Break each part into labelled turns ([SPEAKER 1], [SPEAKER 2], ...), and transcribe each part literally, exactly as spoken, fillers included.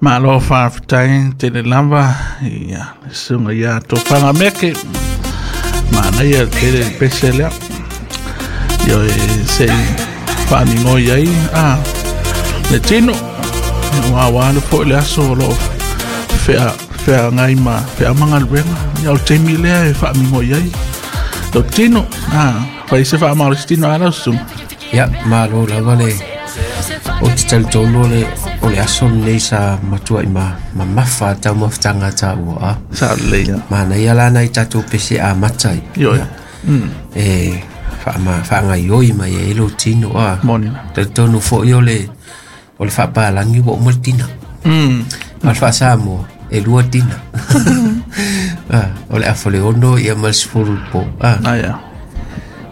[SPEAKER 1] Malo faafetai tele lava ia le susuga ia Tofaga Meke. Manaia tele le pese lea. Ioe se i faamigoi ai a le tino. Ua aua le foi le aso o loo fea feagai ma feau ma galuega. Ia o le taimi lea e faamigoi ai lou tino. A fai se faamalosi tino a lau susuga.
[SPEAKER 2] Ia, malo lava le o te talitonu o le o le aso lenei sa matuai ma mamafa taumafataga a taua a.
[SPEAKER 1] Sa lelei lava.
[SPEAKER 2] Manaia la nai tatou pese amata ai.
[SPEAKER 1] Ioe.
[SPEAKER 2] E faama faagaioi mai ai lou tino a.
[SPEAKER 1] Moni la.
[SPEAKER 2] Talitonu foi o le o le faapalagi ua uma le tina.
[SPEAKER 1] Mm.
[SPEAKER 2] A o le faasamoa e lua tina. Ah, o le afa le ono ia ma le sefulu i le po. Ah.
[SPEAKER 1] Ah, ia.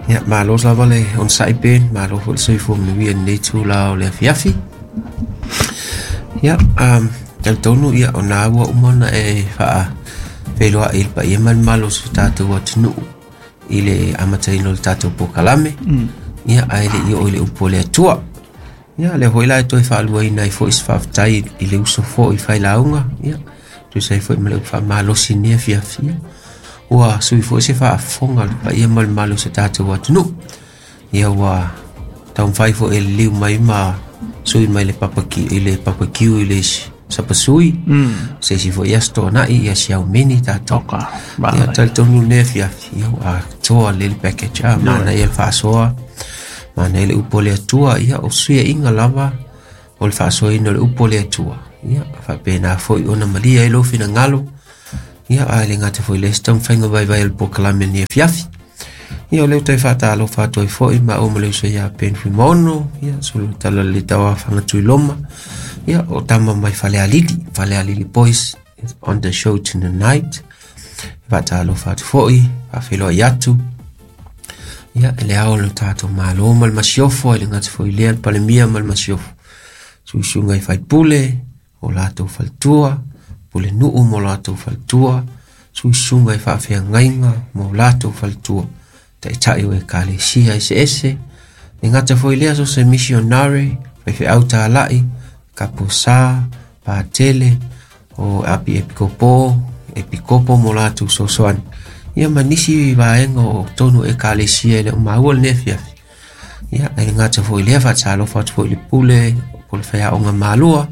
[SPEAKER 2] Ia, malo lava le onosai Ben, malo foi le soifua manuia i lenei itula o le afiafi. Ia, um, talitonu ia o nā ua uma ona e faafeiloai i le paia ma le malo o si o tatou atunuu i le amataina o le tatou polokalame. Ia, ae le i oo i le upu a le Atua. Ia, lea foi la e toe faaluaina ai foi se faafetai i le uso foi i failauga. Ia, tusa ai foi ma le upu faamalosi i lenei afiafi. Ia, ua sui foi se faafofoga a le paia ma le mamalu o si o tatou atunuu. Ia ua taumafai foi e liliu mai ma sui mai le papa i le papa kiu i le sapasui.
[SPEAKER 1] Mm.
[SPEAKER 2] Se isi foi aso toanai ia si aumeni tatou.
[SPEAKER 1] Oka,
[SPEAKER 2] Ia
[SPEAKER 1] manaia.
[SPEAKER 2] talitonu lenei afiafi, ia ua atoa lelei le package. Ah,
[SPEAKER 1] Ioe.
[SPEAKER 2] manaia le faasoa, manaia le upu o le Atua. Ia o suiaiga lava o le faasoaina o le upu o le Atua. Ia faapena foi ona malia ai lou finagalo. Ia ae le gata foi i le isi taumafaiga vaivai o le polokalame lenei afiafi. Ia o lea ua toe faatalofa atu ai foi ma au ma le uso ia Ben Fuimaono, ia sulu tala le tauafaga Tuiloma, ia o tama mai Falealili, Falealili Boys is on the show tonight. Faatalofa atu foi, faafeiloai atu. Ia e le ao o le tatou malo ma le masiofo, e le gata foi i lea le Palemia ma le masiofo. Suisuga i faipule, o latou faletua, pule nuu mo latou faletua, suisuga i faafeagaiga mo latou faletua, taitai o ekalesia eseese, le gata foi lea so se missionary, faifeau talai, kaposa, patele, o api epikopo, epikopo mo latou sosoani. Ia ma nisi vaega o tonu ekalesia e le o maua lenei afiafi. Ia, e le gata foi lea faatalofa atu foi i le pule, po le faiaoga malua,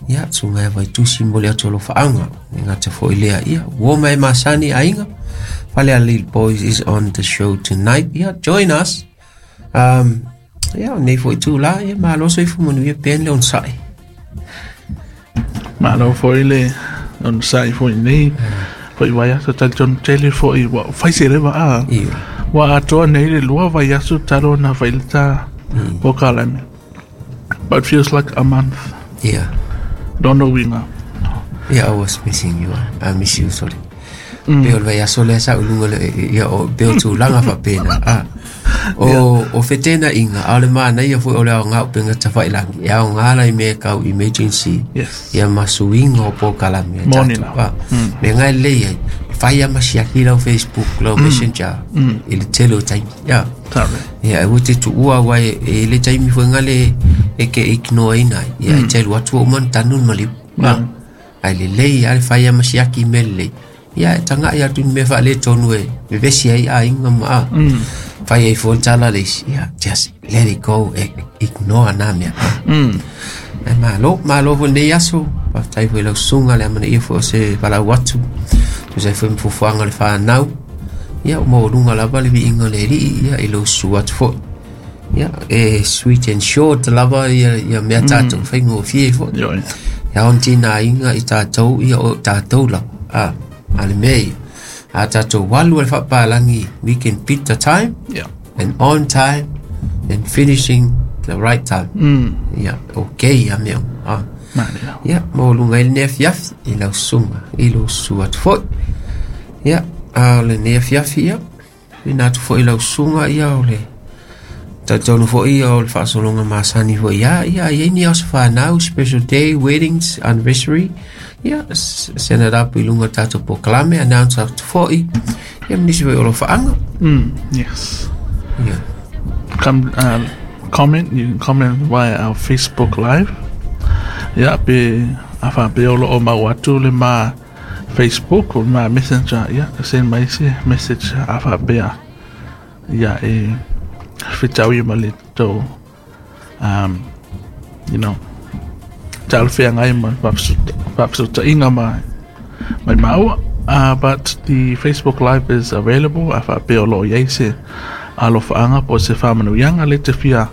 [SPEAKER 2] ia, susuga ia Vaitusi mo le atu alofaaga. Le gata foi lea, ia, ua ma e masani aiga. Falealili Boys is on the show tonight. Ia, join us. Um, ia, o nei foi itula, ia, malo soifua manuia Ben le onosai.
[SPEAKER 1] Malo foi le onosai foi nei. Foi vaiaso talitonu tele foi ua fai se leva a.
[SPEAKER 2] Ioe.
[SPEAKER 1] Ua atoa nei le lua vaiaso talu ona fai le ta polokalame. But it feels like a month.
[SPEAKER 2] Yeah.
[SPEAKER 1] Lona uiga.
[SPEAKER 2] Yeah, I was missing you. I miss you, sorry. Mm. Pe o le vaiaso lea sa uluga le, ia, o, pe o tulaga faapena. Ah. O, o fetena inga, a o le manaia foi o le aoga o upega tafailagi, e aoga la i mea e kau emergency.
[SPEAKER 1] Yes.
[SPEAKER 2] Ia ma suiga o polokalame a
[SPEAKER 1] Moni
[SPEAKER 2] tatou.
[SPEAKER 1] lava.
[SPEAKER 2] Ah. Mea ngai lelei ai, e fai lava ma siaki lau Facebook, lau Messenger, i le tele o taimi. Ia.
[SPEAKER 1] Sabe.
[SPEAKER 2] Ia, e ua te tuua aua e, e le taimi foi ngale e ke ignore-ina ai. Ia, e te alu atu ua uma ona tanu le maliu.
[SPEAKER 1] Mm.
[SPEAKER 2] Ai lelei lava le fai lava ma siaki i mea lelei. Ia, e taga'i atu i ni mea faaletonu e vevesi ai aiga ma a. Fai ai foi le tala le isi. Ia, just let it go, e ignore na mea.
[SPEAKER 1] Mm.
[SPEAKER 2] Ai malo, malo foi lenei aso. Faafetai foi i lau susuga le amanaia foi o se valaau atu. Tusa ai foi ma fuafuaga o le fanau. Ia, o maualuga lava le viiga o le alii, ia, i lou susu atu foi. Ia, e sweet and short lava ia, ia mea tatou, mm. faigofie foi.
[SPEAKER 1] Ioe.
[SPEAKER 2] Ia on tina aiga i tatou, ia o tatou lava. Ah, a le mea ia. A tatou walu o le faapalagi, we can beat the time
[SPEAKER 1] Yeah.
[SPEAKER 2] and on time and finishing the right time.
[SPEAKER 1] Mm.
[SPEAKER 2] Ia, okay ia mea. Ah.
[SPEAKER 1] Manaia.
[SPEAKER 2] Ia, maualuga ai lenei afiafi i lau susuga, i lou susu atu foi. Ia, a o lenei afiafi, ia, ina atu foi i lau susuga, ia, o le talitonu foi, ia, o le faasologa masani foi, ia, ia, e i ai ni aso fanau, special day, weddings, anniversary, ia, s- send it up i luga o le tatou polokalame, announce atu foi, ia, ma nisi foi o alofaaga.
[SPEAKER 1] Mm. Yes.
[SPEAKER 2] Ia,
[SPEAKER 1] Come uh, comment. You can comment via our Facebook Live. Yeah, pe A faapea o loo mau atu le ma Facebook o ma Messenger, ia send mai se message a faapea ia e fetaui ma le tou um, you know talafeagai ma faafesootaiga ma mai maua. Uh, but the Facebook Live is available a faapea o loo iai se alofaaga po o se faamanuiaga le te fia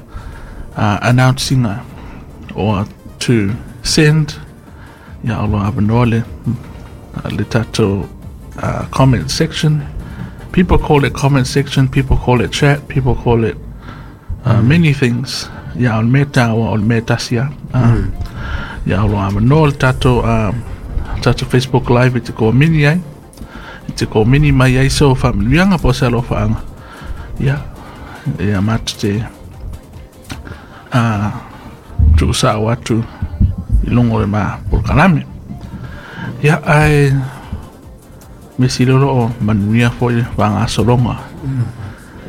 [SPEAKER 1] uh, announcing or to send, ia o lo avanoa le le tatou uh, comment section. People call it comment section, people call it chat, people call it uh, many things. Ia o le mea taua o le mea tasi a. Uh, ia o lo avanoa le tatou uh, tatou Facebook Live i te komini ai. I te komini mai ai so faamanuiaga po o se alofaaga. Ia, ia matou te uh, tuusao atu i luga o le ma polokalame. Ia, ae me sili o loo manuia foi fagasologa.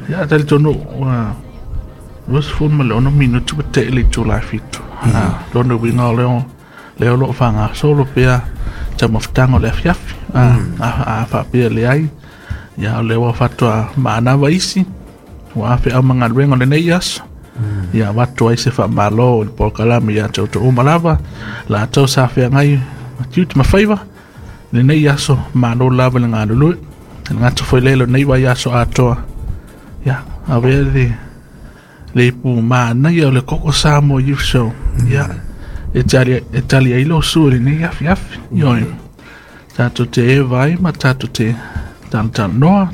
[SPEAKER 1] Ia, talitonu ua luasefulu ma le ono minuti ua te'i le itulā e fitu. Lona uiga o leo lea o loo fagasolo pea taumafataga o le afiafi. A faapea leai, ia o lea ua faatoa maanava isi ua afeau ma galuega o lenei aso. Ia avatu ai se faamālō i le polokalame iā te outou uma lava latou sa feagai ma tiute ma faiva lenei aso. Malo lava le galulue le gata foi lea lenei vaiaso atoa. Ia avea le le ipu manaia o le Koko Samoa Youth Show, ia e tali e tali ai lou sua i lenei afiafi. Ioe, tatou te eva ai ma tatou te talatalanoa.